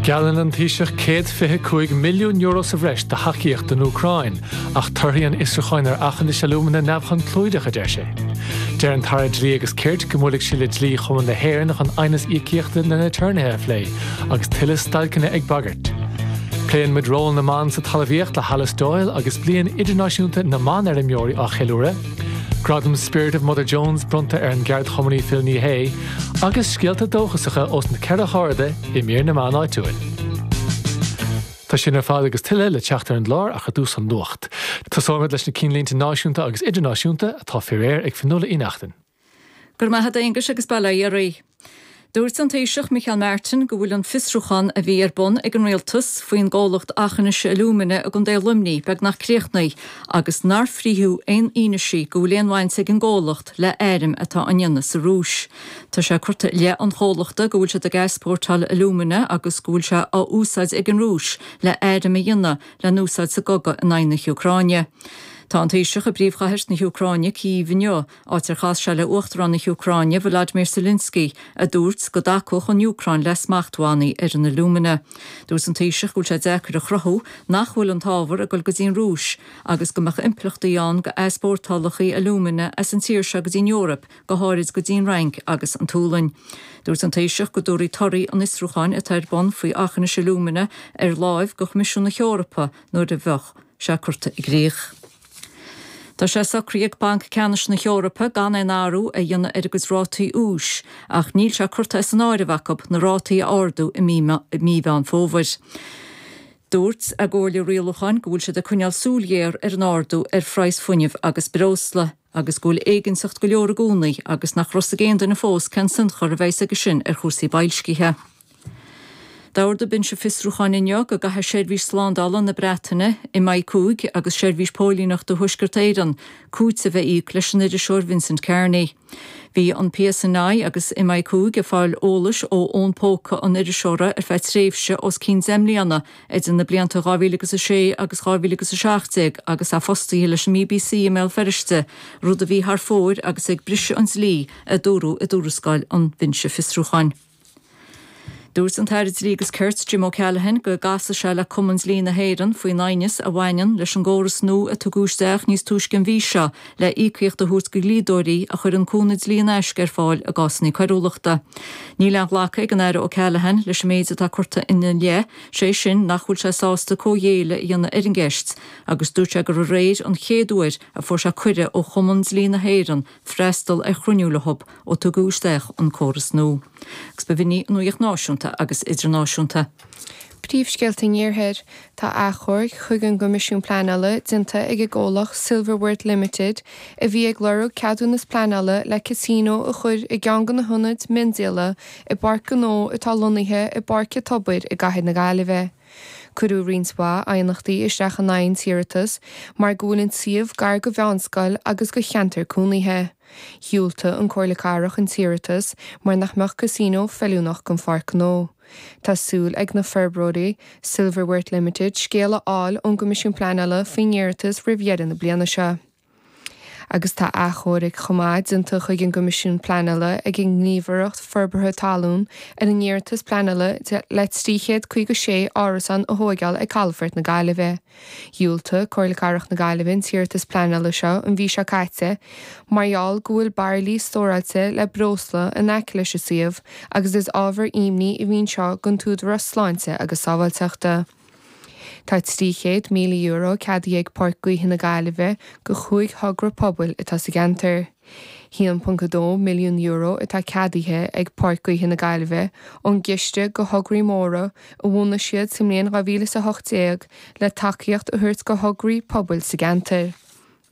Geallann an Taoiseach €125 milliún sa bhreis do thacaíocht don Úcráin, ach torthaí an fhiosrúcháin ar Aughinish Alumina neamhchonclúideach, a deir sé. Deir an tAire Dlí agus Cirt go mbuailfidh sé le Dlí-Chumann na hÉireann chun aighneas íocaíochta na n-aturnaetha a phlé, agus tuilleadh stailceanna ag bagairt. Pléann muid ról na mban sa talmhaíocht le hAlice Doyle agus Bliain Idirnáisiúnta na mBanfheirmeoirí á cheiliúradh. Gradam Spirit of Mother Jones bronnta ar an gceardchumannaí Phil Ní Sheaghdha. Agus scéalta dóchasacha ós na ceithre hairde i mír na meán áitiúil. Tá sin ar fad agus tuilleadh le teacht ar an gclár ach ar dtús an nuacht. Tosóimid leis na cinnlínte náisiúnta agus idirnáisiúnta atá faoi réir ag Fionnuala Uí Neachtain. Go raibh maith agat a Aonghuis agus bail ó Dhia oraibh. Dúirt an Taoiseach Micheál Martin go bhfuil an fiosrúchán a bhí ar bun ag an Rialtas faoin gcomhlacht Aughinish Alumina i gContae Luimnigh beagnach críochnaithe agus nár frítheadh aon fhianaise go bhfuil aon bhaint ag an gcomhlacht le airm atá á ndéanamh sa Rúis. Tá sé curtha i leith an chomhlachta go bhfuil siad ag easpórtáil alúmana agus go bhfuil sé á úsáid ag an Rúis le airm a dhéanamh le n-úsáid sa gcogadh in aghaidh na hÚcráine. Tá an Taoiseach i bpríomhchathair na hÚcráine, Cív, inniu, áit ar chas sé le Uachtarán na hÚcráine, Volodymyr Zelensky, a dúirt go dtacódh an Úcráin le smachtbhannaí ar an alúmana. Dúirt an Taoiseach go bhfuil sé deacair a chruthú nach bhfuil an t-ábhar ag dul go dtí an Rúis agus go mbeadh impleachtaí ann go easpórtálacha alúmana as an tír seo go dtí an Eoraip, go háirid go dtí an Fhrainc agus an tSualainn. Dúirt an Taoiseach go dtabharfaí torthaí an fhiosrúcháin atá ar bun faoi Aughinish Alumina ar láimh go Choimisiún na hEorpa nuair a bheadh sé curtha i gcrích. Tá sé socraithe ag Banc Ceannais na hEorpa gan aon athrú a dhéanamh ar a gcuid rátaí úis ach níl sé curtha as an áireamh acu na rátaí a ardú i mí Mheán Fómhair. Dúirt a gcomhairle rialúcháin go bhfuil siad ag coinneáil súil ghéar ar an ardú ar phraghas fuinnimh agus breosla agus go bhfuil éiginnteacht go leor i gcónaí agus nach raibh a fhios ag aon duine fós cén tionchar a bheas aige sin ar chúrsaí boilscithe. D'ordaigh binse fiosrúcháin inniu go gcaithfidh Seirbhís Slándála na Breataine, MI5, agus Seirbhís Póilíneachta Thuaisceart Éireann cúiteamh a íoc leis an iriseoir Vincent Kearney. Bhí an PSNI agus MI5 ag fáil eolais ó fhón póca an iriseora ar feadh tréimhse os cionn 10 mbliana idir na blianta 2006 agus 2017 agus é fostaithe leis an mBBC i mBéal Feirste, rud a bhí thar fóir agus ag briseadh an dlí, a dúradh i dtuarascáil an Bhinse Fiosrúcháin. Dúirt an tAire Dlí agus Cirt Jim O'Callaghan go gcasfaidh sé le Cumann Dlí na hÉireann faoin aighneas a bhaineann leis an gcóras nua a tugadh isteach níos túisce an mhí seo le íocaíocht a thabhairt do dhlíodóirí a chuireann cúnamh dlí in aisce ar fáil i gcásanna coiriúlachta. Níl aon ghlacadh ag an Aire O'Callaghan leis an méid atá curtha ina leith, sé sin nach bhfuil sé sásta comhghéilleadh a dhéanamh ar an gceist agus dúirt sé gur aréir an chéad uair a fuair sé cuireadh ó Chumann Dlí na hÉireann freastal ar chruinniú leo ó tugadh isteach an córas nua. Agus b'in í an nuacht náisiúnta agus idirnáisiúnta. Príomhscéalta an Iarthair. Tá achomharc chuig an gCoimisiún Pleanála déanta ag an gcomhlacht Silverworth Limited a bhí ag lorg ceadúnas pleanála le casino a chur i gceann de na hionaid miondíola i bpáirc ghnó atá lonnaithe i bPáirc an Tobair i gcathair na Gaillimhe. Cuireadh roinnt mhaith aighneachtaí isteach in aghaidh an t-iarratas mar go bhfuil an suíomh gar go mheánscoil agus go cheantar cónaithe. Dhiúltaigh an Comhairle Cathrach an t-iarratas mar nach mbeadh casino feiliúnach don pháirc ghnó. Tá súil ag na forbróirí, Silverworth Limited, scéal a fháil ón gCoimisiún Pleanála faoin iarratas roimh dheireadh na bliana seo. Agus tá achomharc chomh maith déanta chuig an gCoimisiún Pleanála ag an nGníomhaireacht Forbartha Talún ar an iarratas pleanála le 356 árasán a thóigeáil ag Calafort na Gaillimhe. Dhiúltaigh Comhairle Cathrach na Gaillimhe an t-iarratas pleanála seo an mhí seo caite mar gheall go bhfuil bairillí stóráilte le breosla in aice leis an suíomh agus is ábhar imní a bhí anseo don t-údarás sláinte agus sábháilteachta. Tá €300,000 ceadaithe ag Páirc Gaoithe na Gaillimhe do chúig thogra pobail atá sa gceantar. €1.2 milliún atá ceadaithe ag Páirc Gaoithe na Gaillimhe ón gCiste do Thograí Móra a bhunaigh siad sa mbliain 2018 le tacaíocht a thabhairt do thograí pobail sa gceantar.